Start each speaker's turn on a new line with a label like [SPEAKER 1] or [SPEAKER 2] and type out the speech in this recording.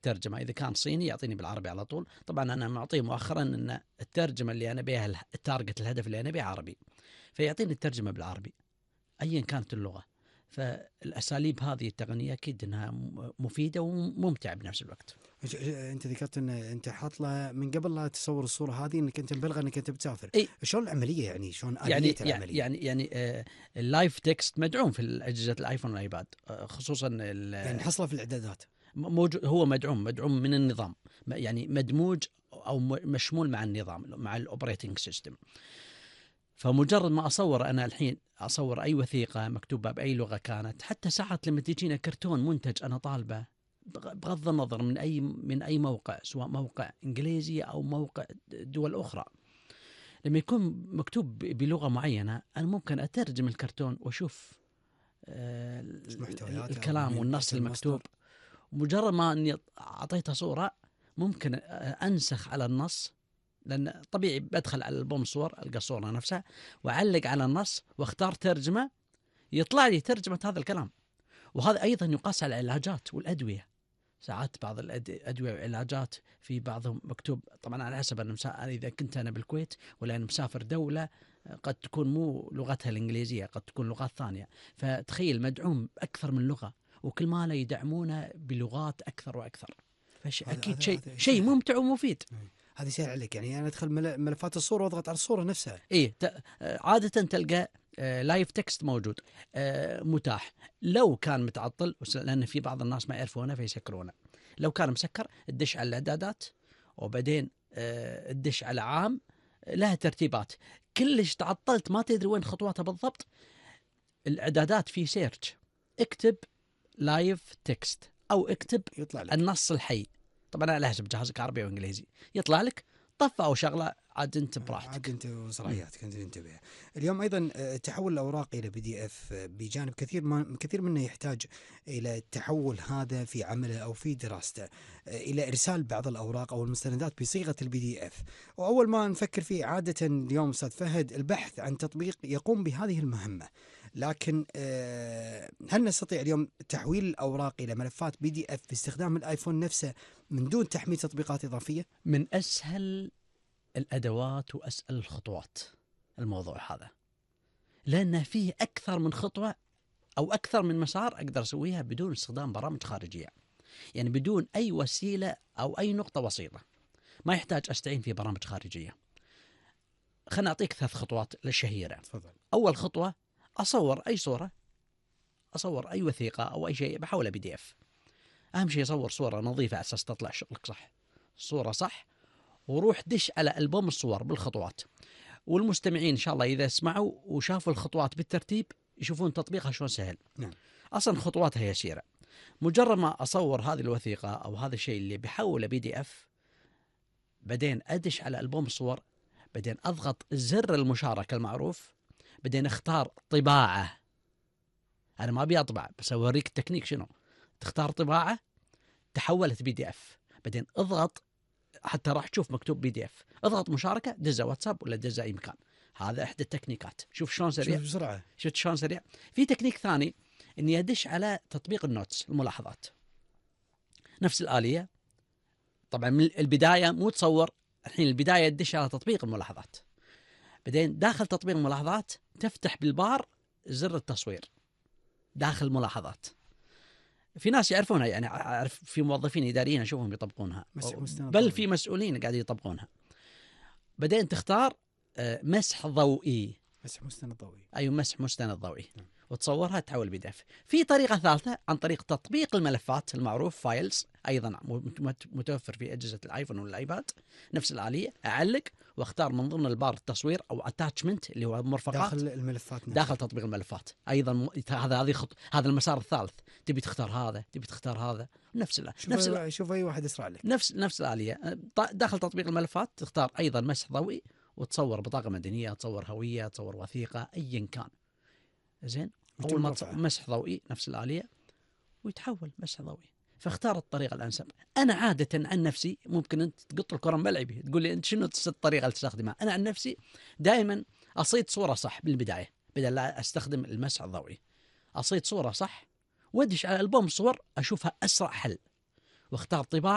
[SPEAKER 1] ترجمة، إذا كان صيني يعطيني بالعربي على طول. طبعا أنا معطيه مؤخرا أن الترجمة اللي أنا بيها التارجت الهدف اللي أنا بيه عربي، فيعطيني الترجمة بالعربي أيا كانت اللغة. فالأساليب هذه التقنية أكيد أنها مفيدة وممتعة بنفس الوقت.
[SPEAKER 2] أنت ذكرت أن أنت حاط لها من قبل لا تصور الصورة هذه أنك أنت مبلغ أنك أنت بتسافر. شلون العملية يعني شلون آلية العملية؟
[SPEAKER 1] يعني اللايف تكست مدعوم في أجهزة الآيفون والآيباد خصوصا
[SPEAKER 2] يعني حصله في الإعدادات
[SPEAKER 1] موجود، هو مدعوم من النظام، يعني مدموج أو مشمول مع النظام مع الأوبريتنج سيستم. فمجرد ما أصور أنا الحين أصور أي وثيقة مكتوبة بأي لغة كانت، حتى ساعات لما تجينا كرتون منتج أنا طالبه بغض النظر من أي موقع، سواء موقع إنجليزي أو موقع دول أخرى، لما يكون مكتوب بلغة معينة أنا ممكن أترجم الكرتون وأشوف الكلام والنص المكتوب. مجرد ما أني أعطيتها صورة ممكن أنسخ على النص، لأن طبيعي بدخل على البوم صور ألقى الصورة نفسها وأعلق على النص واختار ترجمة، يطلع لي ترجمة هذا الكلام. وهذا أيضا يقاس على العلاجات والأدوية. ساعات بعض الأدوية والعلاجات في بعضهم مكتوب طبعا على حسب إذا كنت أنا بالكويت ولا أنا مسافر دولة قد تكون مو لغتها الإنجليزية، قد تكون لغات ثانية. فتخيل مدعوم أكثر من لغة، وكل ما لا يدعمونه بلغات أكثر وأكثر. أكيد شيء ممتع ومفيد.
[SPEAKER 2] هذا سهل عليك، يعني أنا أدخل ملفات الصورة وأضغط على الصورة نفسها.
[SPEAKER 1] عادة تلقى لايف تكست موجود متاح. لو كان متعطل، لأن في بعض الناس ما يعرفونه فيسكرونه، لو كان مسكر تدش على الإعدادات وبعدين تدش على عام، لها ترتيبات. كلش تعطلت ما تدري وين خطواتها بالضبط، الإعدادات في سيرش اكتب لايف تكست أو اكتب
[SPEAKER 2] يطلع لك
[SPEAKER 1] النص الحي. طبعا على حسب جهازك عربي وإنجليزي يطلع لك طفة أو شغلة، عاد أنت براحتك،
[SPEAKER 2] عاد أنت وصلاحياتك أنت تنتبه. اليوم أيضا تحول الأوراق إلى PDF بجانب كثير منه يحتاج إلى التحول هذا في عمله أو في دراسته إلى إرسال بعض الأوراق أو المستندات بصيغة PDF. وأول ما نفكر فيه عادة اليوم أستاذ فهد البحث عن تطبيق يقوم بهذه المهمة، لكن هل نستطيع اليوم تحويل الأوراق إلى ملفات PDF باستخدام الآيفون نفسه من دون تحميل تطبيقات إضافية؟
[SPEAKER 1] من أسهل الأدوات وأسأل الخطوات الموضوع هذا، لأن فيه أكثر من خطوة أو أكثر من مسار أقدر أسويها بدون استخدام برامج خارجية، يعني بدون أي وسيلة أو أي نقطة وسيطة، ما يحتاج أستعين في برامج خارجية. خلنا أعطيك 3 خطوات الشهيرة.
[SPEAKER 2] تفضل.
[SPEAKER 1] أول خطوة أصور أي صورة، أصور أي وثيقة أو أي شيء بحولها PDF. أهم شيء أصور صورة نظيفة على أساس تطلع شغلك صح، صورة صح، وروح دش على ألبوم الصور بالخطوات. والمستمعين إن شاء الله إذا سمعوا وشافوا الخطوات بالترتيب يشوفون تطبيقها شلون سهل.
[SPEAKER 2] نعم.
[SPEAKER 1] أصلا خطواتها يسيرة. مجرد ما أصور هذه الوثيقة أو هذا الشيء اللي بحوله PDF، بعدين أدش على ألبوم الصور، بعدين أضغط زر المشاركة المعروف، بعدين اختار طباعة. أنا ما أبي أطبع بس أوريك التكنيك شنو. تختار طباعة تحولت PDF، بعدين اضغط حتى راح تشوف مكتوب PDF، اضغط مشاركة دزة واتساب ولا دزة أي مكان. هذا إحدى التكنيكات. شوف شلون سريع،
[SPEAKER 2] شوف بسرعة،
[SPEAKER 1] شفت شلون سريع. في تكنيك ثاني إني أدش على تطبيق النوتس الملاحظات، نفس الآلية. طبعا من البداية مو تصور، الحين البداية تدش على تطبيق الملاحظات، بعدين داخل تطبيق الملاحظات تفتح بالبار زر التصوير داخل الملاحظات. في ناس يعرفونها، يعني أعرف في موظفين إداريين أشوفهم يطبقونها، بل في مسؤولين قاعدين يطبقونها. بعدين تختار مسح ضوئي،
[SPEAKER 2] مسح مستند ضوئي.
[SPEAKER 1] أي مسح مستند ضوئي، وتصورها تحول PDF. في طريقة ثالثة عن طريق تطبيق الملفات المعروف فايلز، أيضا متوفر في أجهزة الآيفون والآيباد، نفس الآلية. أعلق واختار من ضمن البار التصوير أو attachment اللي هو مرفقات
[SPEAKER 2] داخل الملفات نفسها.
[SPEAKER 1] داخل تطبيق الملفات أيضا. هذا المسار الثالث، تبي تختار هذا تبي تختار هذا،
[SPEAKER 2] شوف أي واحد يسرع لك.
[SPEAKER 1] نفس الآلية. داخل تطبيق الملفات تختار أيضا مسح ضوئي وتصور بطاقة مدنية، تصور هوية، تصور وثيقة، أيا كان. زين، أول ما مسح ضوئي نفس الآلية ويتحول مسح ضوئي. فاختار الطريقة الأنسب. أنا عادة عن نفسي، ممكن أنت تقط الكرة ملعبي تقول لي أنت شنو الطريقة اللي تستخدمها. أنا عن نفسي دائما أصيد صورة صح بالبداية بدل لا أستخدم المسح الضوئي. أصيد صورة صح وادش على ألبوم الصور أشوفها أسرع حل، واختار طباعة